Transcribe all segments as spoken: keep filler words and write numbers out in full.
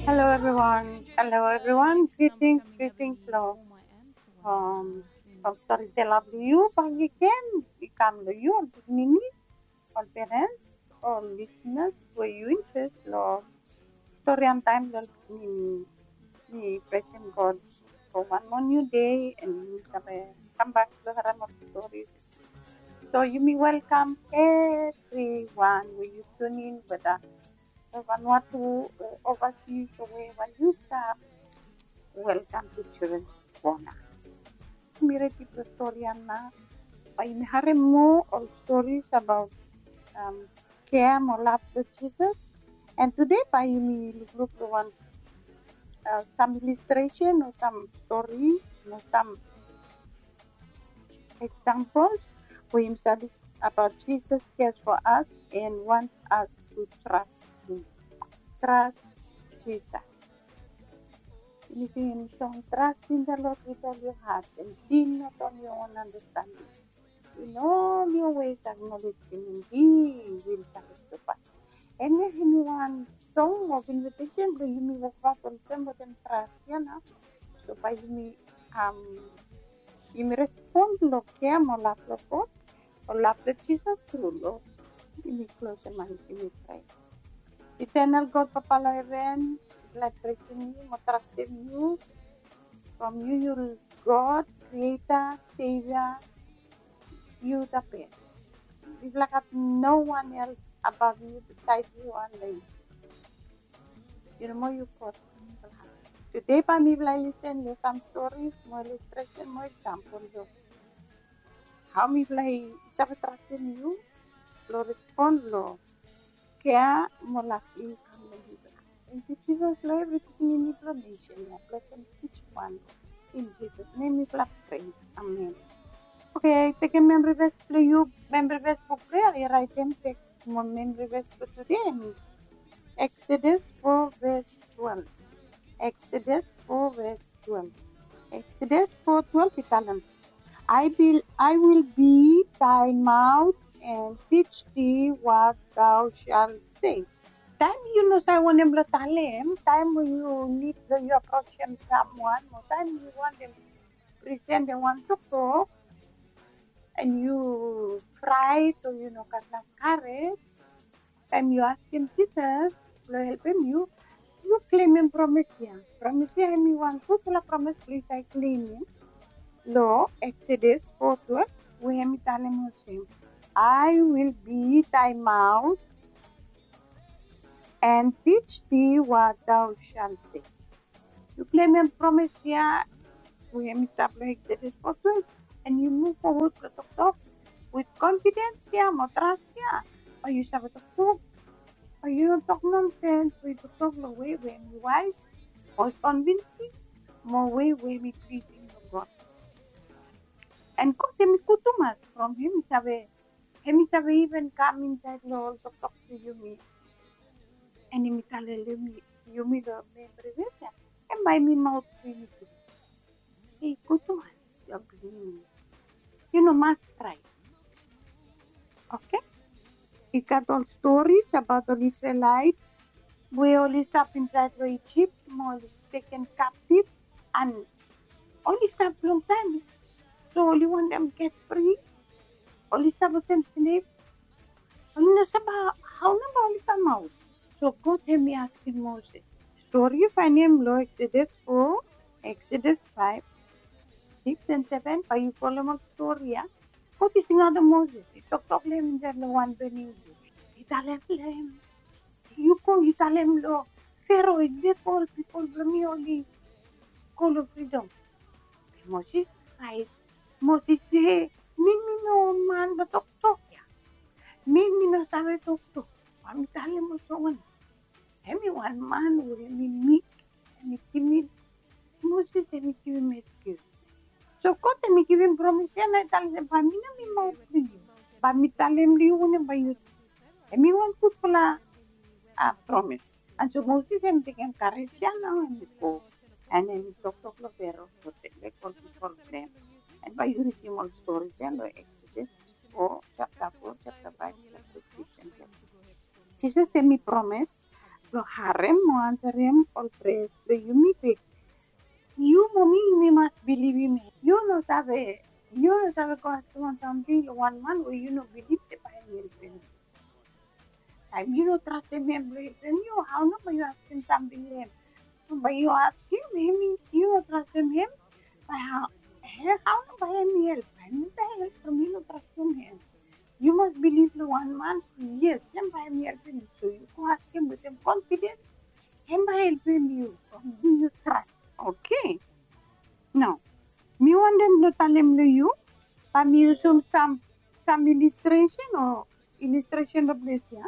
Hello everyone. Hello everyone. Greetings, greetings long. Um, from Storyteller blong yu bakegen. I kam long yu ol pikinini, ol parents, ol listeners we yu interest long story and time long pikinini. Mi praising God for one more new day and mi save come back long harem ol stories. So yumi welcome everyone we yu tune in, whether Vanuatu, uh, overseas, or wherever you stap. Welcome to Children's Corner. Yumi redi blong stori ya nao. Bae yumi harem moa ol stories abaot, um, kea mo lav blong Jisas. And tede bae yumi lukluk long wan, uh, sam illustration o sam stori o sam examples we yumi save abaot Jisas cares for us and wants us to trust him. Trust Jesus. Yumi singim song, trust in the Lord with all your heart and lean not on your own understanding. In all your ways acknowledge him and he will direct your path. Hemia hemi wan song of invitation blong yumi wokbaot olsem wetem trust ya nao. So bae yumi, um, yumi respon long kea mo lav blong God, o lav blong Jisas tru lo. Yumi klosem ae, yumi prea. Eternal God, Papa long heven, mifala praising yu mo trastem yu. From yu, yu God, Creator, Savior, yu the best. Mifala gat no one else above yu, beside yu, under yu. Yu nomo yu God. Tede bae mifala i lisen long sam stories mo illustration mo example blong hao mifala i save trastem yu blong respon long kea mo lav blong yu kam long mifala. Tangkiu Jisas long evri pikinini blong nesen ya. Blesem each one. In Jesus' name mifala prea. Amen. Oke, tekem memory verse blong yu, memory verse buk blong yu, raetem teks mo memory verse blong tede hemi Exodus four verse twelve. Exodus four verse twelve. Exodus four twelve i talem, I will, I will be thy mouth and teach thee what thou shalt say. Taem yu no save wanem blong talem, taem we yu nid blong yu aprosem someone, o taem yu wantem presentem wan toktok, and yu fraet o yu no gat naf karej, taem yu askem Jisas blong helpem yu, yu klemem promes ya. Promes ya hemi wan gudfala promes blong yu save klemem long Exodus four twelve, we hemi talem olsem, I will be thy mouth and teach thee what thou shalt say. Yu klemem promes ya we hemi stap long Exodus four twelve, and yu muv fowod blong toktok with confidence ya mo trust ya. Bae yu save toktok, bae yu no tok nonsens, bae yu toktok long wei we hemi wise, mo convincing, mo wei we hemi pleasing long God. And God hemi gud tumas, from hemi save, hemi save even kam insaed long ol toktok blong yumi. And hemi talem long yumi, yumi long memory verse ya, hemia bae hemi maot blong yumi tu. Hemi gud tumas, yu blong yumi. Yu no mas fraet. Oke? I gat ol stories abaot ol Isrelaet we oli stap insaed long Ijip mo oli teken kaptif, and oli stap longtaem. So oli wantem get fri. Oli stap olsem slave. Oli no save hao nao bae oli kamaot. So God hemi askem Moses. Stori yu faenem long Exodus four, Exodus five, six and seven, bae yu folem ol stori ya. God i singaot Moses, i toktok long hem insaed long wan boning bus. I talem long hem, yu go, yu talem long Fero i lego ol pipol blong mi oli go long fridom. Moses fraet. Moses se, mi, mi no man blong toktok ya. Mi, mi no save toktok. Bae mi talem olsem wanem? Hemi wan man we hemi meek, hemi timid. Moses hemi givim excuse. So God hemi givim promes ya nao i talem se bae mi no mi maot blong yu. Bae mi talem long yu wanem bae yu. Hemi wan gudfala, a, promes. And so Moses hemi tekem karej ya nao hemi go. And hemi toktok long Fero, go lego ol pipol blong hem. And bae yu ridim ol stories ya long Exodus four, chapter four, chapter five, chapter six, and chapter seven. Jisas hemi promes blong harem o ansarem ol preyas blong yumi. Be yu mo mi, yumi mas bilivim hem. Yu no save, yu no save go askem wan samting long wan man we yu no bilif se bae hem helpem yu. Taem yu no trastem hem blong helpem yu, hao nao bae yu askem samting long hem? Bae yu askem hem, yu no trastem hem, bae hao, hao nao bae hem help? Bae hem no save help from yu no trastem hem. Yu mas bilif long wan man, yes, hem bae hem helpem yu. So yu go askem wetem confidence, hem bae helpem yu from yu no tras. Oke. Nao mi wantem blong talem long yu, bae mi yusum sam, sam illustration o illustration long ples ya.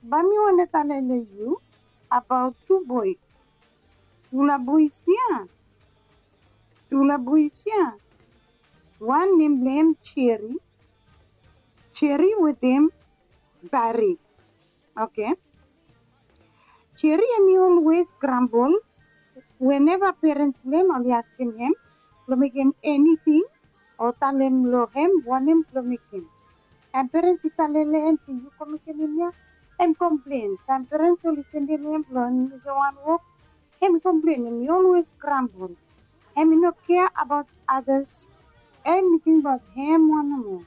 Bae mi wantem talem long yu abaot tu boe, tufala boe ya, tufala boe ya. Wan nem blong hem Jerry, Jerry wetem Barry. Oke. Jerry hemi olwes grambol weneva perens blong hem oli askem hem blong mekem eniting o talem long hem wanem blong mekem. Taem perens i talem long hem se yu go mekem hemia, hem komplen. Taem perens oli sendem hem blong hem mekem wan wok, hem komplen. Hemi olwes grambol. Hemi no kea abaot adas. Hemi tingbaot hem wan nomo.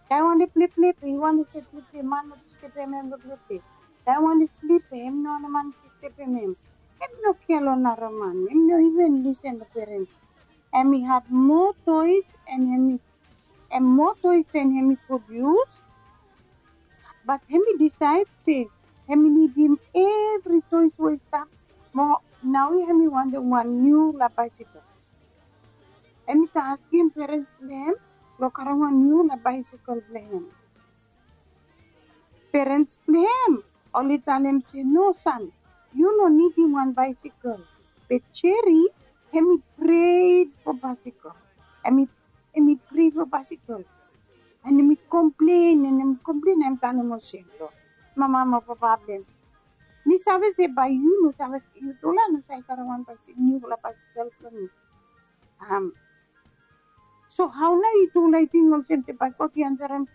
Taem i wantem pleple, be i wantem se pleple, man no stepem hem long pleple. Taem i wantem slip, be hem no wantem man i stepem hem. Hem no kea long nara man. Hem no iven lisen long perens. Hemi had moa toes and hemi, hem moa toes den hemi could use. Bat hemi disaed se hemi nidim evri toes we i stap. Mo naoia hemi wantem wan niufala baesekel. Hemi save askem perens blong hem blong karem wan niufala baesekel blong hem. Perens blong hem oli talem se, no san, yu no nidim wan baesekel. Be Jerry hemi pred fo baesekel. Hemi, hemi pred fo baesekel. And hemi komplen, and hemi komplen, hemi talem olsem long mama mo papa blong hem, mi save se bae yu no save, yu tufala no save karem wan baesekel, niufala baesekel blong mi. Am, so hao nao yu tufala i ting olsem se bae God i ansarem,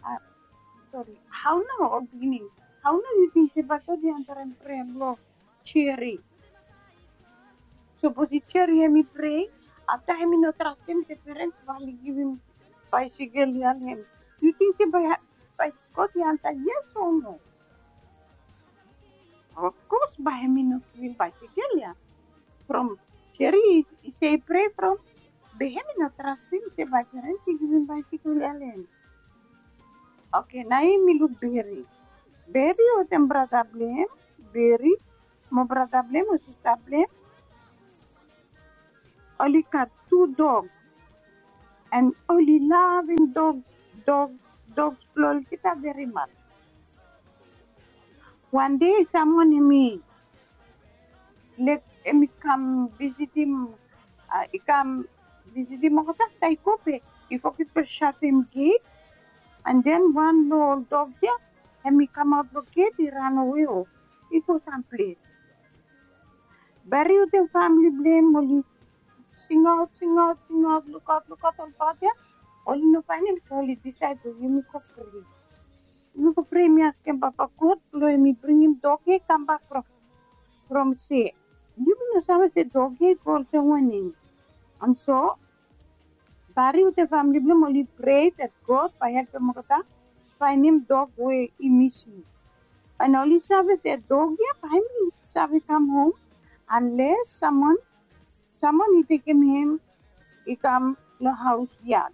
a, sori, hao nao, ol pikinini, hao nao yu ting se bae God i ansarem prea blong Jerry? Sapos i Jerry hemi prea, afta hemi no trastem se perens bae oli givim baesekel ya long hem. Yu ting se bae, bae God i ansa yes o no? Of course bae hemi no givim baesekel ya. From Jerry i, i se i prea from, be hemi no trastem se bae perens i givim baesekel ya long hem. Oke, naoia mi luk Barry. Barry wetem brata blong hem, Barry mo brata blong hem o sista blong hem, oli gat tu dog. And oli lavem dog, dog, dog blong olgeta very much. Wan dei samwan hemi lek, hemi kam visitim, a, i kam visitim olgeta, afta i go bek, i foget blong satem gate. And then wan long ol dog ya hemi kamaot long gate, i ranawe o i go samples. Barry wetem famili blong hem oli singaot, singaot, singaot, lukaot, lukaot olbaot ya. Oli no faenem, so oli disaed blong yumi go prea. Yumi go prea, mi askem Papa God blong hemi bringim dog ya i kambak from, from sea. Yumi no save se dog ya i go olsem wanem. And so Barry wetem famili blong hem oli prea se God bae helpem olgeta faenem dog we i misim. And oli save se dog ya bae hemi save kam hom unless samwan, samwan i tekem hem i kam long haos yad.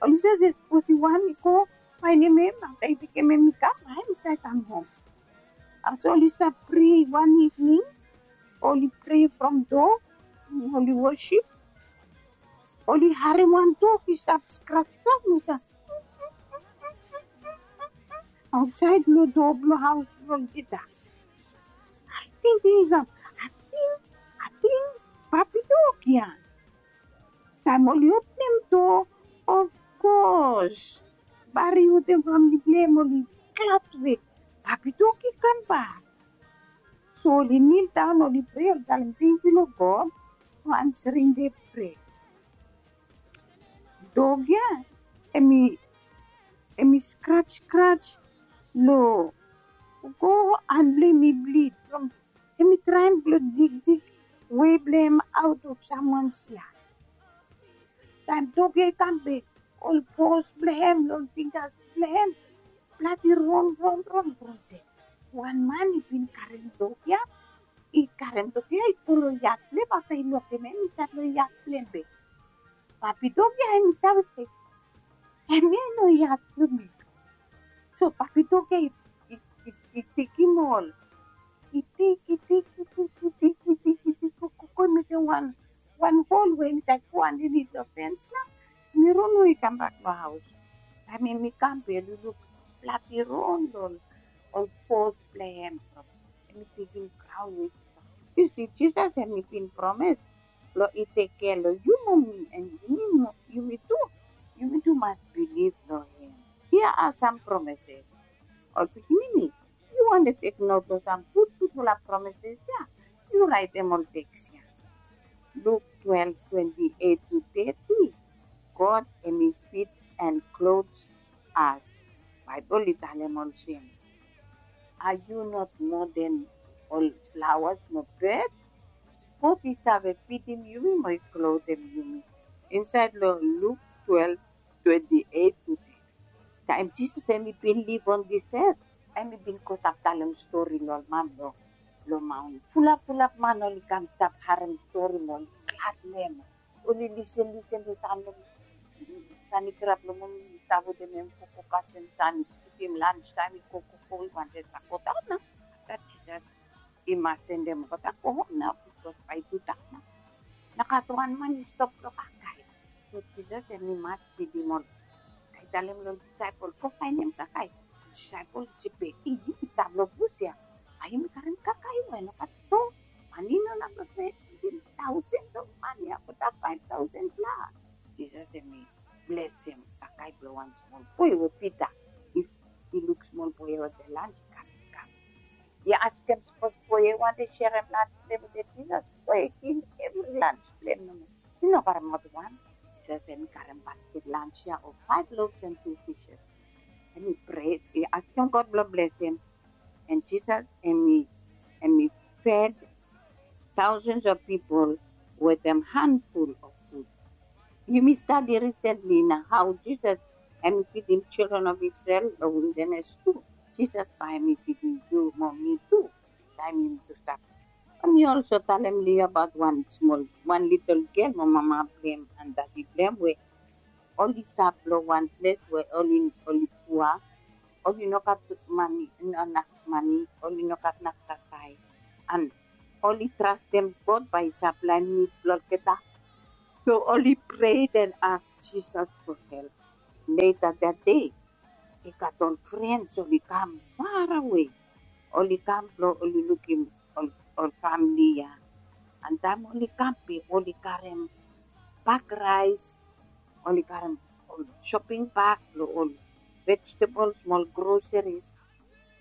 Oli save se sapos i wan i go faenem hem, afta i tekem hem i kam, bae hemi save kam hom. As oli stap prea wan ivning, oli prea from dog, oli wosip, oli harem wan dog i stap skrap, skrap, i stap aotsaed long doa blong haos blong olgeta. Ating, ating, ating papi dog ya. Taem oli openem doa, of course Barry wetem famili blong hem oli glad we papi dog i kambak. So oli nildaon, oli prea, oli talem tangkiu long God fo ansarem dem prea. Dog ya hemi, hemi skraj, skraj long Go, han blong hem i blid from hem i traem blong digdig wei blong hem aot of samwan sia. Taem dog ya i kam bek, ol pos blong hem, ol finggas blong hem bladi ron ron ron from se wan man i bin karem dog ya, i karem dog ya i go long yat blong hem afta i lokem hem insaed long yat blong hem bek. Papi dog ya hem i save se hemia i no yat blong mi. So papi dog ya i, i, i, i tekem ol, i tik, i tik, i tik, i tik, i tik, i tik, go, go, go mekem wan, wan hol we insaed go andanit long fens nao. Mi ron we i kambak long haos. Taem hem i kam be luluk bladi ron long ol pos blong hem. Hem i tekem graon we i stap. Yu si, Jisas hem i bin promes blong i tekem kea long yu mo mi, and yumi mo, yumi tu, yumi tu mas bilif long hem. Hia are sam promeses. Ol pikinini, yu wantem tek not long sam gudgudfala promeses ya, yu raetem ol teks ya. Luk twelve, twenty-eight to thirty. God hem i feeds and clothes us. Baebol i talem olsem, are you not more than ol flawas mo bed? God i save fidim yumi mo i klotem yumi. Insaed long Luk twelve, twenty-eight to thirty. Taem Jisas hem i bin liv on this earth, hem i bin go stap talem stori long ol man long, long maon. Fulap fulap man oli kam stap harem stori mo oli glad long hem. Oli lisen lisen long san, long san i kirap long moning, i stap wetem hem, koko kasem san, i putim lans taem i koko, koko, i wantem stap godaon nao. Afta Jisas i mas sendem olgeta go hom nao, bikos bae i tudaon nao. Nao gat wan man i stop long kakae. So Jisas hem i mas fidim ol. Bae i talem long disaepol, go faenem kakae. Disaepol i se, be yumi stap long bus ya, bae yumi karem kakae we nogat ston? Mane i no inap long fidim taosen long man ya, olgeta faef taosen plas. Jisas hem i blesem kakae blong wan smol boe we Pita. If i luk smol boe ya wetem lans, i kam, i kam. I askem sipos boe ya i wantem serem lans blong hem wetem Jisas, boe i givim evri lans blong hem nomo. I no karemaot wan. Jisas hem i karem basket lans ya of five loaves and two fishes. Hem i prea, i askem God blong blesem. And Jisas hem i, hem i fed thousands of people wetem handful of food. Yumi stadi risentli nao hao Jisas hem i fidim children of Israel long wildanes tu. Jisas bae hem i fidim yu mo mi tu taem yumi tu stap. Hem i olso talem long yu abaot wan smol, wan litel gel mo mama blong hem and dadi blong hem we oli stap long wan ples we oli, oli pua. Oli nogat mane, no naf mane, oli nogat naf kakae. And oli trastem God bae i saplaem nid blong olgeta. So oli prea and ask Jisas for help. Leta that day, i gat ol frens oli kam farawe. Oli kam blong oli lukim ol, ol famle ya. And taem oli kam be oli karem bag raes, oli karem ol shoping bag blong ol vegetable, smol groseris,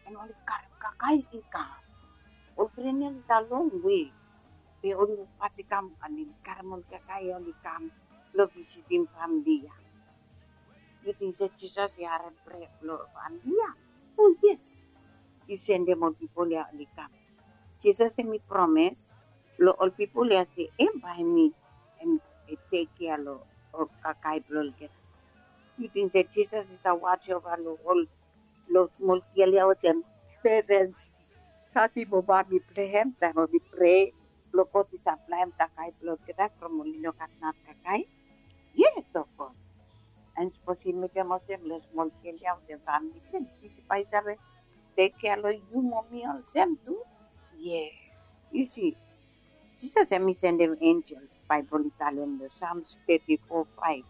and oli karem kakae i kam. Ol fren ya oli stap longwe, be oli wokbaot i kam, and oli karem ol kakae ya oli kam blong visitim famle ya. Yu ting se Jisas i harem prea blong famle ya? O yes. I sendem ol pipol ya oli kam. Jisas hem i promes long ol pipol ya se hem bae hem i, hem i tekkea long ol kakae blong olgeta. Yu ting se Jisas i stap waj ova long ol, long smol gel ya wetem perens, dadi mo mami blong hem, taem oli prea blong God i saplaem kakae blong olgeta from oli nogat naf kakae? Yes, of course. And sipos i mekem olsem long smol gel ya wetem famle blong hem, Jisas bae i save tekkea long yu mo mi olsem tu? Yes. Yu si, Jisas hem i sendem enjels, Baebol i talem long Psalms thirty-four five.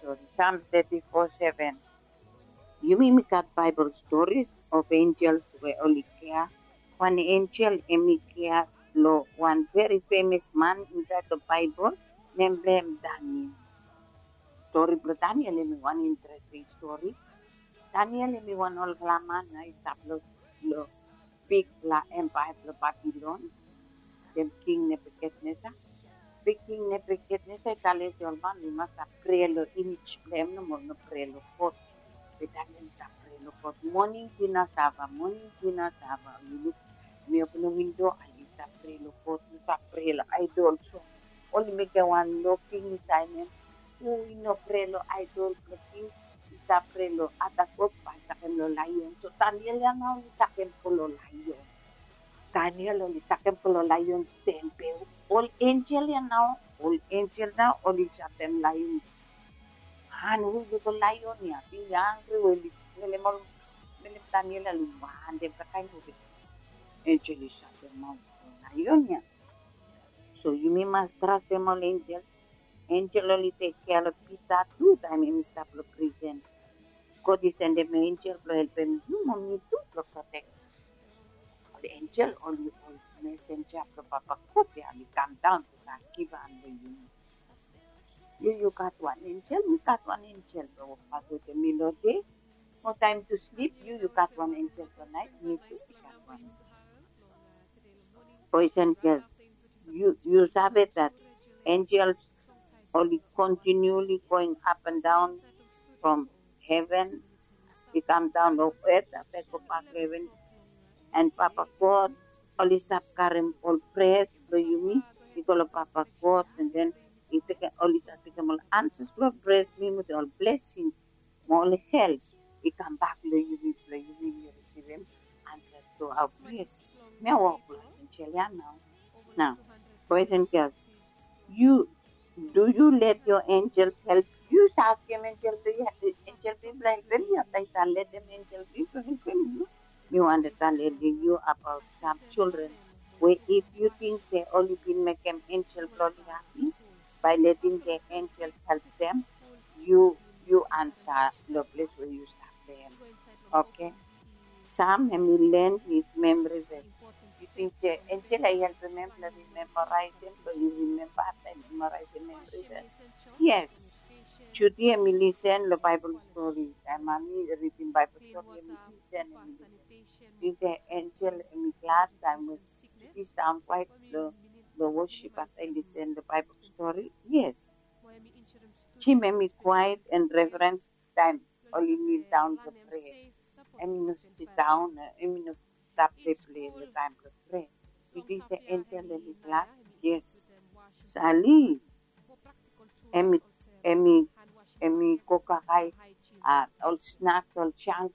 Sori, Psalms thirty-four seven. Yumi mi gat Baebol stories of enjels we oli kea. Wan enjel hem i kea long wan veri femes man insaed long Baebol, nem blong hem Daniel. Stori blong Daniel hem i wan interesting stori. Daniel hem i wan olfala man ya i stap long, long bigfala empaea blong Babilon, wetem King Nebukadnesar. Be King Nebukadnesar i talem se ol man oli mas stap prea long imej blong hem nomo, no prea long God. Be Daniel i stap prea Lo God, moning dina sava, moning dina sava. Yu luk, mi opin lo windo, a yu stap prea lo God, yu stap prea lo aedol. So oli mekem wan noking insaed nem. Hu i no prea lo aedol blo king, i stap prea lo ata god, bae i sakem lo laeon. So Daniel ya nao oli sakem go lo laeon. Daniel oli sakem go lo laeon sten be ol enjel ya nao, ol enjel nao oli satem laeon. An hu i go laeon ya, i angri we oli melem ol, melem Daniel ya oli wantem kakaen we enjel i satem maot lo laeon ya. So yumi mas trastem ol enjel. Enjel oli tekkea lo Pita tu taem hemi stap lo prisen. God i sendem enjel blo helpem yu mo mi tu blo protek. Ol enjel oli ol mesenja blo Papa God ya oli kamdaon blo kam givhan lo yumi. Yu yu gat wan enjel, mi gat wan enjel blo wokbaot wetem mi lo dei. Mo taem tu slip, yu yu gat wan enjel lo naet, mi tu mi gat wan enjel. Boys and girls, yu yu save that angels oli continually going up and down from heaven, i kamdaon lo earth, afta i gobak lo heaven. And Papa God oli stap karem ol prayers blo yumi i go lo Papa God, and then i tekem, oli stap tekem ol answers blo prayers blo yumi wetem ol blessings mo ol help i kambak lo yumi, blo yumi risivim answers to our prayers. Mi a wok lo enjel ya nao. Nao, boys and girls, yu, do you let your angels help? Yu save askem enjel blo yu, enjel blo yu blo helpem yu? Afta yu save letem enjel blo yu blo helpem yu? Mi wantem talem yu abaot sam children we if yu ting se oli bin mekem enjel blo oli hapi bae letem the angels help them, yu, yu ansa lo ples we yu stap dem. Okay. Sam hemi len his memory verse. Yu ting se enjel ya i helpem hem blo rimemba, raesem, blo yu rimemba afta yu memorize memory verse. Yes. Judy hemi lisen lo Baebol stori. Taem mami ridim Baebol stori hemi lisen, hemi lisen. Yu ting se enjel hemi glad taem we Judy i stap kwaet lo, lo worship afta i lisen lo Baebol stori? Yes. Jim hemi kwaet and reverent taem oli kneel down blo prea. Hemi no sidaon, hemi no stap pleplei lo taem blo prea. Yu ting se enjel hemi glad? Yes. Sali hemi, hemi, hemi go kakae, a, ol snacks, ol junk,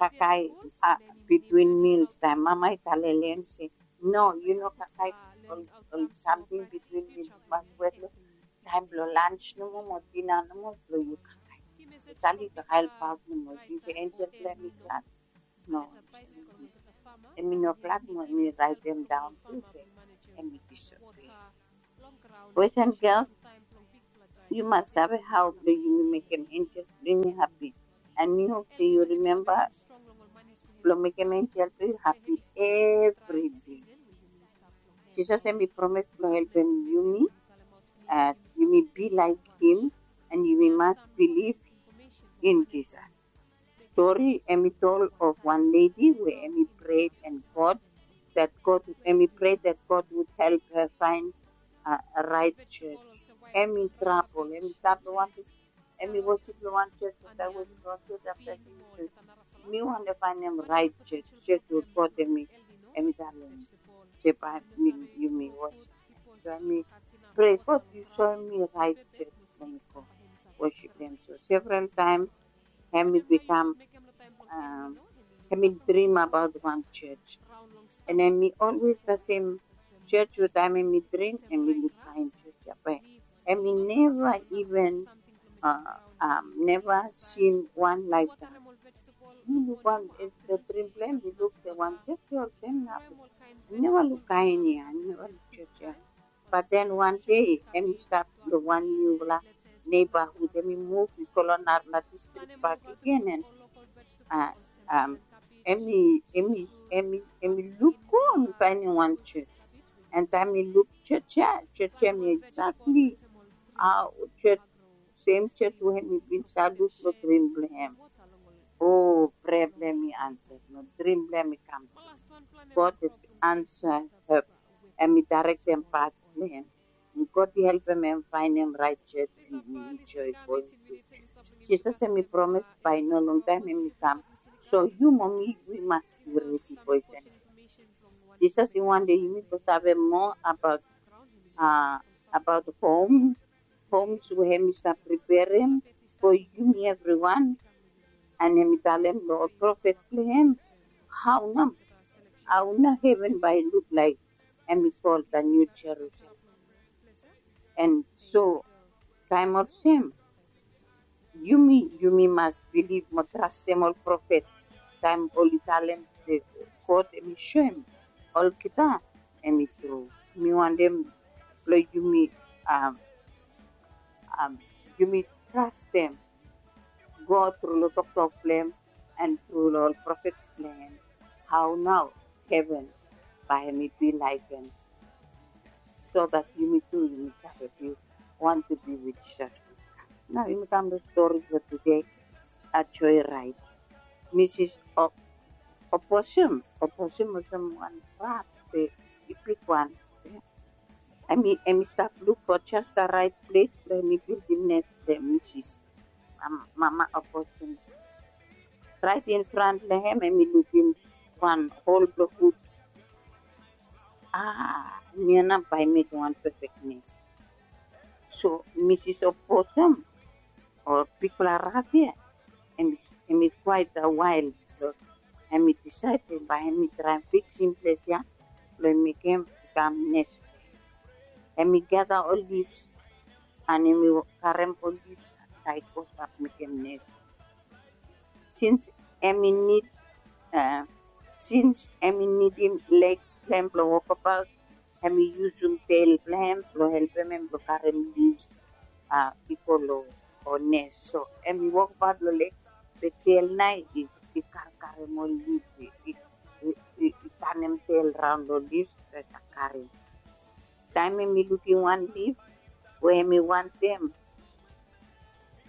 kakae, a, between meals taem mama i talem lo hem se, no, yu no kakae ol, ol samting between meals. Mas wet lo taem blo lunch nomo mo dinner nomo blo yu kakae. Sali kakae ol paot nomo. Yu ting se enjel blo hem i glad? No. Hemi no glad mo hemi raetemdaon tu se hemi disobey. Boys and girls, yu mas save hao blo yumi mekem enjel blo yumi hapi. And mi hop se yu rimemba blo mekem enjel blo yu hapi evri dei. Jisas hemi promes blo helpem yumi, a, yumi be laek him, and yumi mas bilif in Jisas. Stori hemi tol of wan ledi we hemi prea and God, that God, hemi prea that God would help her find a, a raet jos. Hemi trabol, hemi stap lo wan ples, hemi wosip lo wan jos, afta wosip lo wan jos, afta hemi se, mi wantem faenem raet jos, jos we God hemi, hemi talem se bae mi, yumi wosip. So hemi prea, God, yu soem mi raet jos blo mi go wosip hem. So several times hemi bikam, a, hemi drim abaot wan jos. And hemi olwes the same jos we taem hemi drim, hemi luk kaen jos ya be hemi neva even, a, a, neva sin wan laektime. Mi luk wan, a, drim blo hem, mi luk se wan jos ya olsem nao. Mi neva luk kaen ya, mi neva luk jos ya. But then wan dei hemi stap lo wan niufala neighborhood, hemi muv i go lo narafala distrik bakegen, and, a, hemi, hemi, hemi, hemi luk go, hemi faenem wan jos. And taem mi luk jos ya, jos ya hemi exactly, a, jos, same jos we hemi bin save luk lo drim blo hem. O, prea blo hem i ansa, no, drim blo hem i kam. God ansa hem. Hemi daerektem path blo hem. God i helpem hem faenem raet jos, and hemi enjoy going to jos. Jisas hemi promes bae no longtaem hemi kam So yu mo mi, wi mas bi redi, boys and girls. Jisas i wantem yumi blong save moa abaot, a, abaot hom, homs we hemi stap preperem fo yumi evriwan. And hemi talem long ol profet blong hem hao nao, hao nao heven bae i luk laek, hemi kol the New Jerusalem. And so taem olsem, yumi, yumi mas bilif mo trastem ol profet taem oli talem se God hemi soem olgeta hemi tru. Mi wantem blong yumi, am, am, yumi trastem God tru long toktok blong hem and tru long ol profet blong hem. Hao nao heven bae hemi bi laek hem, so that yumi tu yumi save bi wantem bi with Jisas. Nao yumi kam long stori blong tude, a, joe raed. Misis O-, Opossum, Opossum olsem wan rat, be i bigwan. Hemi, hemi stap luk fo jes the raet ples blong hemi bildim nes blong hem, misis. Am, Mama Opossum. Raet in front long hem, hemi lukim wan hol blong wud. A, hemia nao bae i mekem wan pefek nes. So misis Opossum, o bigfala rat ia, hemi, hemi quite a wild, so hemi disaed se bae hemi traem fiksim ples ia blong mekem bikam nes. Hemi gada ol leaves and hemi karem ol leaves, tae i go stap mekem nes. Sins hemi nid, a, sins hemi nidim legs blong hem blong wokbaot, hemi yusum tel blong hem blong helpem hem blong karem leaves, a, i go long, o, nes. So hemi wokbaot long lek, be tel nao i, i karkarem ol leaves, i, i, i, i, i tanem tel raon long leaves, be i stap karem. Taem hemi lukim wan leaf we hemi wantem,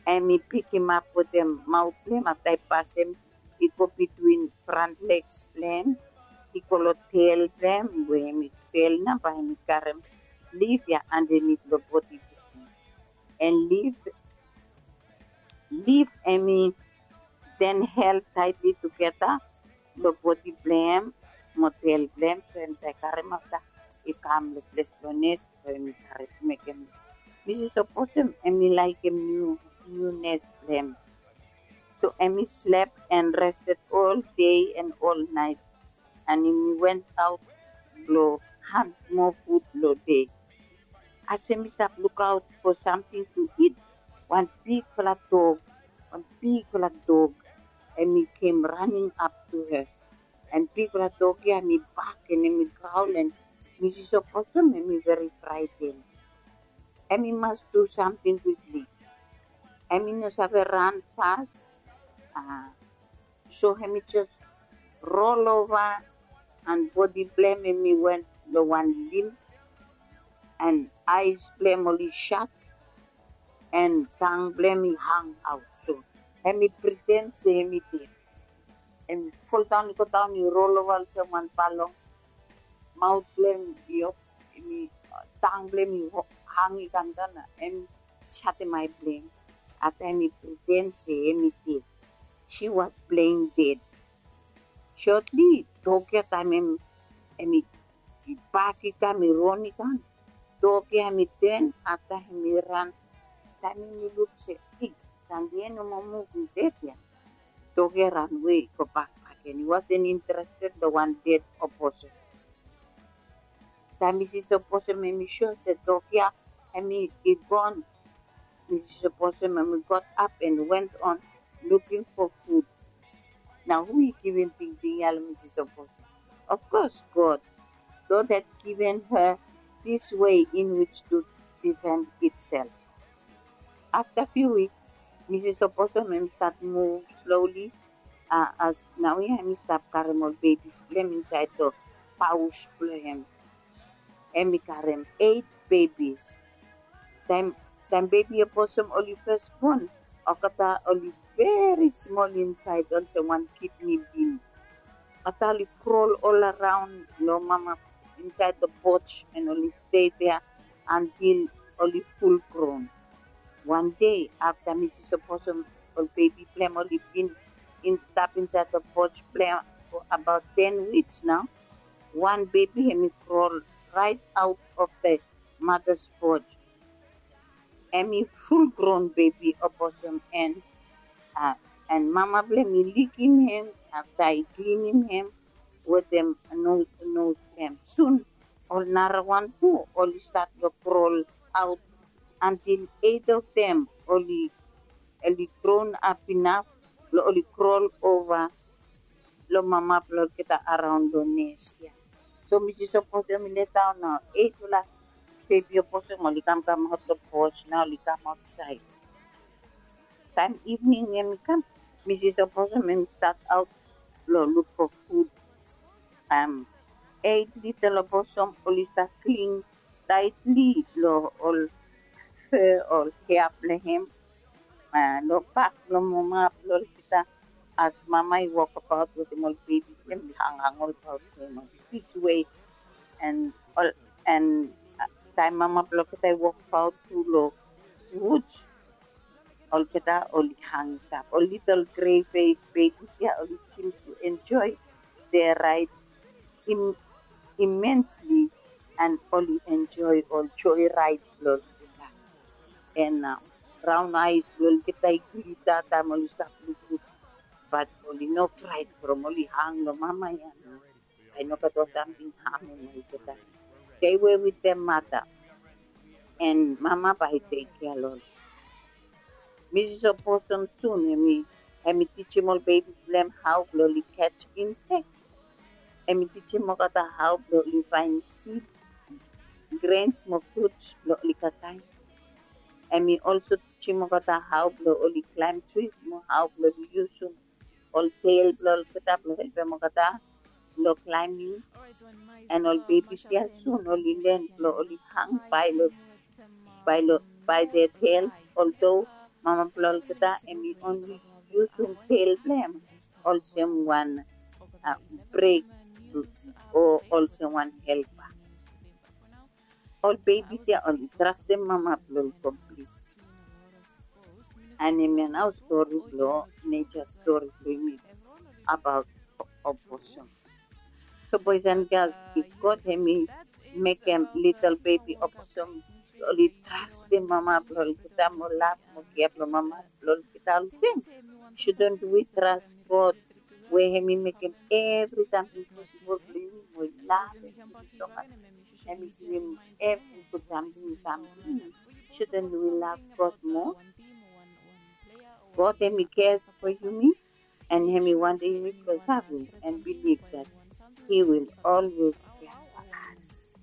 hemi pikimap wetem maot blong hem, afta i pasem, i go bitwin front legs blong hem, i go long tel blong hem, we hemi tel nao bae hemi karem leaf ia andanit long bodi blong hem. And leaf, leaf hemi then held tightly together long bodi blong hem mo tel blong hem, so hem save karem afta i kam long ples blong nes, so hemi karem mekem. Misis Opossum hemi laekem niu, niu nes blong hem. So hemi slep and rested all day and all night. And hemi went out blong hant moa fud long dei. As hemi stap lukaot fo samting tu it, wan bigfala dog, wan bigfala dog, hemi kem raning ap tu hem. And bigfala dog ia hemi bak and hemi graol, and Misis Opossum hemi veri fraeten. Hemi mas du samting kwikli. Hemi no save ran fas. A, so hemi jes rolova and bodi blong hem hemi went long wan lim, and aes blong hem oli sat, and tang blong hem i hangaot. So hemi priden se hemi ded. Hemi foldaon i godaon i rolova olsem wan balong. Maot blong hem i op, hemi, tang blong hem i hang i kamdaon, na hemi satem ae blong hem. Afta hemi priden se hemi ded. She was playing dead. Shortly, dog ia taem hem, hemi bak i kam, i ron i kam. Dog ia hemi ten, afta hemi ran. Taem hemi luk se, ei, sande ia no moa muv, i ded ia. Dog ia ranwe i gobak bakegen. He wasn't interested long wan ded opossum. Taem Misis Opossum hemi sua se dog ia hemi i gon, Misis Opossum hemi got up and went on looking for food. Nao hu i givim tingting ia long Misis Opossum? Of course, God. God had given her this way in which to defend itself. Afta few weeks, Misis Opossum hemi stat muv slowly, a, as naoia hemi stap karem ol bebis blong hem insaed long paos blong hem. Hemi karem eit bebis. Taem, taem bebi opossum oli fes bon, olgeta oli veri smol insaed, olsem wan kidni bin. Afta oli krol ol araon long mama insaed long poj, and oli stei dea antil oli fulgron. Wan dei afta Misis Opossum ol bebi blong hem oli bin in stap insaed long poj blong hem fo abaot ten wiks nao. Wan bebi hemi krol raet aot of the madas poj. Hemi fulgron bebi oposom, an, a, an mama blong hem i likim hem afta i klinim hem wetem nos, nos blong hem. Sun ol narawan tu oli stat long krol aot antil eit of dem oli, oli gronap inaf blong oli krol ova long mama blong olgeta araon long nes ya. So Misis Oposom i letdaon nao, eitfala bebi oposom oli kamkam aot long poj nao, oli kam aotsaed. Taem ivning hemi kam, Misis Oposom hemi stat aot blong luk fo fud. Am, eit litel oposom oli stat klin taetli long ol fur, ol hea blong hem, a, long bak blong mama blong olgeta. As mama i wokabaot wetem ol bebi blong hem, i hangang olbaot long hem this way. An ol, an, a, taem mama blong olgeta i wokabaot tu long woods, olgeta oli hang i stap. Ol litel gre fes bebis ya oli seem to enjoy their ride im-, immensely, an oli enjoy ol joyride blong olgeta. An, a, braon aes blong olgeta i glita taem oli stap lukluk, bat oli no fraet from oli hang long mama ya nao. Bae i no gat ol samting hamem olgeta. Stay well with them, mother. An mama bae i tek kea long ol. Misis Oposom sun hemi, hemi tijim ol bebis blong hem hao blong oli catch insects. Hemi tijim olgeta hao blong oli faenem seeds, grains mo fruits blong oli kakaem. Hemi also tijim olgeta hao blong oli climb trees mo hao blong oli yusum ol tail blong olgeta blong helpem olgeta long climbing. An ol bebis ya sun oli len blong oli hang bae long, bae long, bae their tails, although mama blong olgeta hemi only yusum tail blong hem olsem wan, a, brake o olsem wan helper. Ol bebis ya oli trastem mama blong oli komplit. An hemia nao stori blong, nature stori blong yumi abaot oposom. So boys and girls, if God hemi mekem litel bebi oposom oli trastem mama blong olgeta mo lav mo kea blong mama blong olgeta olsem, shouldn't we trust God we hemi mekem evri samting posibol blong yumi, mo i lavem yumi so much, hemi givim evri gud samting i kam long yumi? Shouldn't we love God more? God hemi cares for yumi, an hemi wantem yumi blong savem an bilif that he will always care for us.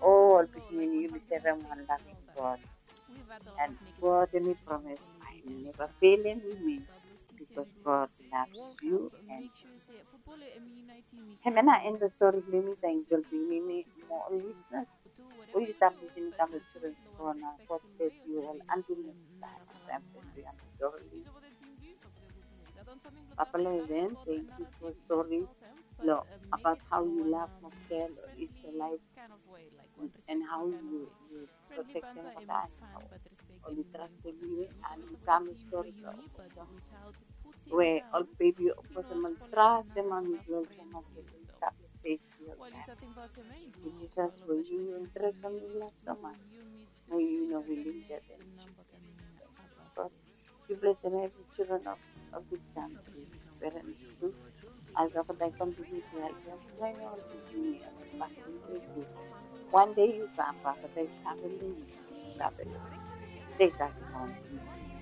O ol pikinini, yumi serem wan laving God. An God hemi promes bae hemi neva felem yumi, bikos God loves you and hemia nao end long stori blong yumi. Tangkiu blong yumi mo ol lisenas we yu stap lisin i kam long Children's Corner. God bless you all. Until next time, I'm Sandra Dorley. Papa Leven, thank you for story lo about how you love Mokel or Israelite and how you, you protect them for that. Oli trastem yu and yu kam long stori blong we ol bebi oposom oli trastem mami blong olsem Mokel oli stap long safety oltaem. Jisas we yu and Tresem yu love so much. Mo yu no wilim death and God, yu blesem evri children of, of this country. Parents tu. As Papa God i kontiniu tu helpem, blesem ol pikinini, ol pikinini. Wan dei yu kam, Papa God i save long yu, save long yu. Take us home.